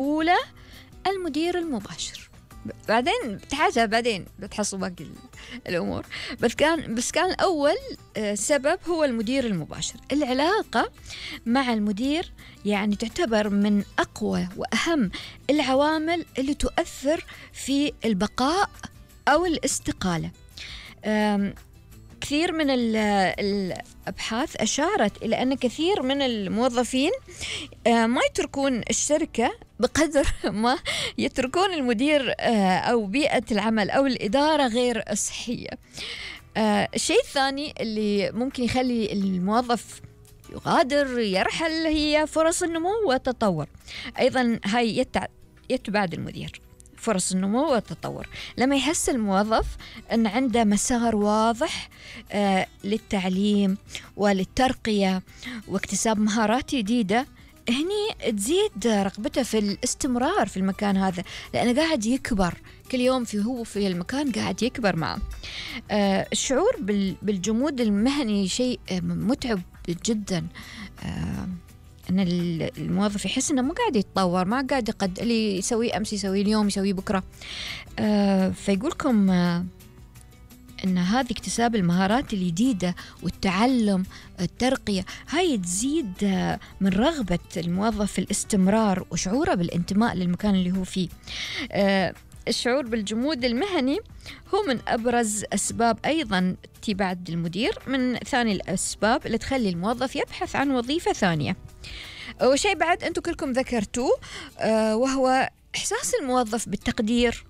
الأولى المدير المباشر. بعدين بتحاجة بعدين بتحصل باقي الأمور، بس كان أول سبب هو المدير المباشر. العلاقة مع المدير يعني تعتبر من أقوى وأهم العوامل اللي تؤثر في البقاء أو الاستقالة. كثير من الأبحاث أشارت إلى أن كثير من الموظفين ما يتركون الشركة بقدر ما يتركون المدير أو بيئة العمل أو الإدارة غير صحية. الشيء الثاني اللي ممكن يخلي الموظف يغادر يرحل هي فرص النمو والتطور. أيضا هاي يتبعد المدير فرص النمو والتطور. لما يحس الموظف أن عنده مسار واضح للتعليم وللترقية واكتساب مهارات جديدة، هني تزيد رغبته في الاستمرار في المكان هذا، لأنه قاعد يكبر كل يوم هو في المكان قاعد يكبر معه. الشعور بالجمود المهني شيء متعب جدا. أن الموظف يحس أنه مو قاعد يتطور، ما قاعد اللي يسويه أمس يسويه اليوم يسويه بكرة. فيقولكم أن هذه اكتساب المهارات الجديدة والتعلم الترقية هاي تزيد من رغبة الموظف في الاستمرار وشعوره بالانتماء للمكان اللي هو فيه. الشعور بالجمود المهني هو من أبرز أسباب أيضا تبعد المدير، من ثاني الأسباب اللي تخلي الموظف يبحث عن وظيفة ثانية. وشيء بعد أنتم كلكم ذكرتوه وهو إحساس الموظف بالتقدير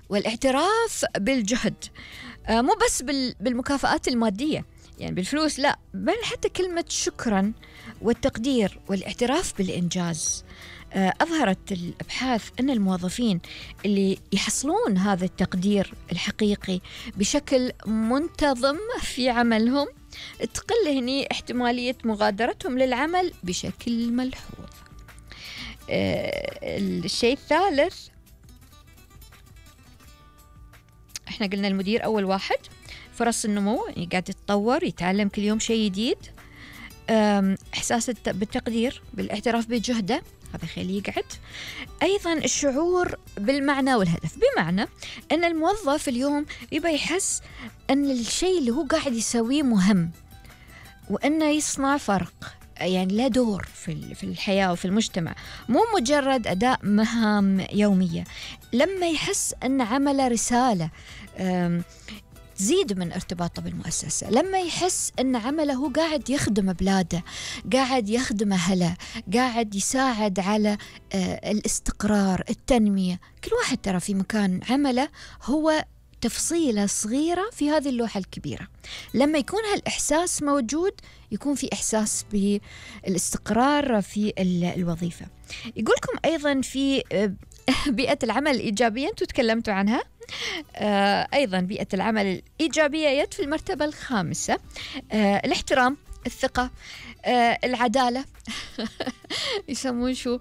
والاعتراف بالجهد، مو بس بالمكافآت المادية يعني بالفلوس، لا، بل حتى كلمة شكرا والتقدير والاعتراف بالإنجاز. أظهرت الأبحاث أن الموظفين اللي يحصلون هذا التقدير الحقيقي بشكل منتظم في عملهم تقل هني احتمالية مغادرتهم للعمل بشكل ملحوظ. الشيء الثالث، احنا قلنا المدير أول واحد، فرص النمو يعني قاعد يتطور يتعلم كل يوم شيء جديد. إحساس بالتقدير بالاعتراف بجهده هذا خليه يقعد. أيضا الشعور بالمعنى والهدف، بمعنى أن الموظف اليوم يبقى يحس أن الشيء اللي هو قاعد يسويه مهم وأنه يصنع فرق، يعني له دور في الحياة وفي المجتمع، مو مجرد أداء مهام يومية. لما يحس أن عمله رسالة تزيد من ارتباطه بالمؤسسة. لما يحس أن عمله هو قاعد يخدم بلاده، قاعد يخدم أهله، قاعد يساعد على الاستقرار التنمية. كل واحد ترى في مكان عمله هو تفصيلة صغيرة في هذه اللوحة الكبيرة. لما يكون هالإحساس موجود يكون في إحساس بالاستقرار في الوظيفة. يقولكم أيضا في بيئة العمل الإيجابية، أنتوا تكلمتوا عنها. أيضا بيئة العمل الإيجابية يد في المرتبة الخامسة. الاحترام، الثقة، العدالة. يسمون شو،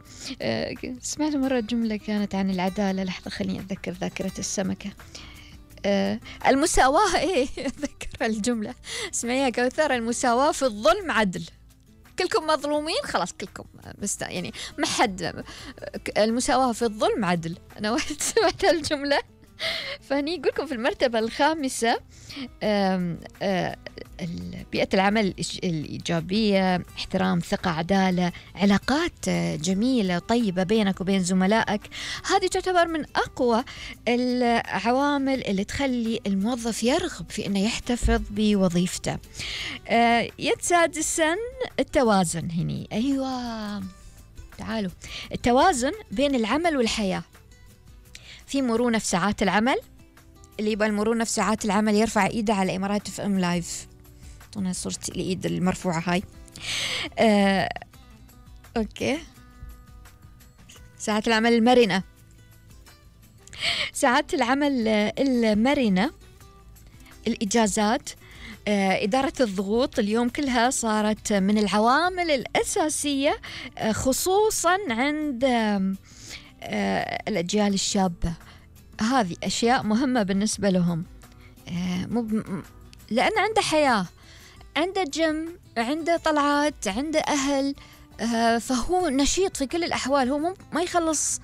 سمعت مرة جملة كانت عن العدالة، لحظة خليني أتذكر ذاكرة السمكة. المساواة، إيه أتذكر الجملة، اسمعيها كوثر، المساواة في الظلم عدل. كلكم مظلومين خلاص كلكم، بس يعني ما حد، المساواة في الظلم عدل. أنا وقت سمعت الجملة فهني يقولكم في المرتبة الخامسة بيئة العمل الإيجابية، احترام، ثقة، عدالة، علاقات جميلة طيبة بينك وبين زملائك. هذه تعتبر من أقوى العوامل اللي تخلي الموظف يرغب في أنه يحتفظ بوظيفته. يد سادسا التوازن. هني أيوة تعالوا، التوازن بين العمل والحياة. في مرونة في ساعات العمل، اللي يبغى المرونة في ساعات العمل يرفع إيده على إمارات اف ام لايف. أعطونا صورة الإيد المرفوعة هاي. أوكي، ساعات العمل المرنة. ساعات العمل المرنة، الإجازات، إدارة الضغوط اليوم كلها صارت من العوامل الأساسية خصوصا عند الأجيال الشابة. هذه أشياء مهمة بالنسبة لهم، لأن عنده حياة، عنده جيم، عنده طلعات، عنده أهل، فهو نشيط في كل الأحوال، هو ما يخلص